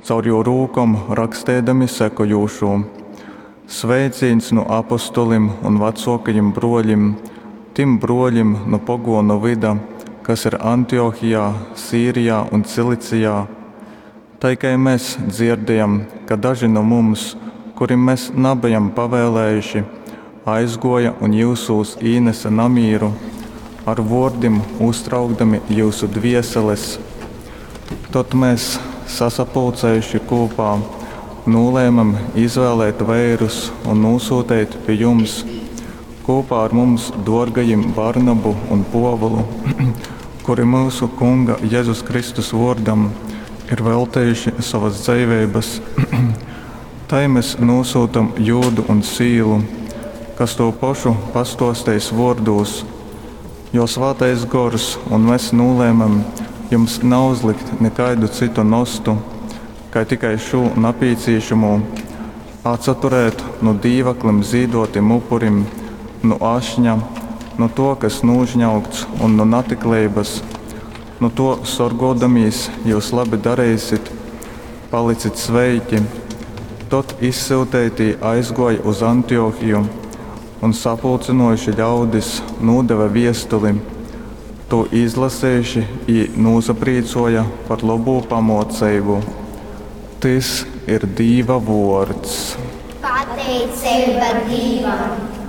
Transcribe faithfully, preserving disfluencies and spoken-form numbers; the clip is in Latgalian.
caur jū rūkom raksteidami sekojūšū, Sveicīņs nu apostolim un vacōkajim brōļim tim brōļim nu pogōnu vyda, kas ir Antiochijā, Sīrijā un Cilicijā. Tai kai mes dzierdejam, ka daži nu mums, kurim mes nabejam pavēlējuši, aizgōja un jyusūs īnese namīru, ar vōrdim uztraukdami jyusu dvieseles. Tod mes, sasapulcējuši kūpā, nūlēmem izvēlēt veirus un nūsyuteit pi jums kūpā ar mums dōrgajim Barnabu un Pōvulu, kuri myusu Kunga Jezus Kristus vōrdam ir veltejuši sovas dzeiveibas. Tai mes nūsyutam Jūdu un Sīlu, kas tū pošu pastōsteis vōrdūs. Jo Svātais Gors un mes nūlēmem jums nauzlikt nikaidu cytu nostu, kai tikai šū napīcīšamū, Atsaturēt nu dīvaklim zīdōtim upurim, nu ašņa, nu tō, kas nūžņaugts un nu natikleibas. Nu tō sorgōdamīs jyus labi dareisit. Palicit sveiki! Tod izsyuteitī aizgōja uz Antiochiju un, sapulcynōjuši ļaudis, nūdeve viestuli. Tū izlasejuši, jī nūsaprīcōja par lobū pamōceibu. Tys ir Dīva vōrds. Pateiceiba Dīvam!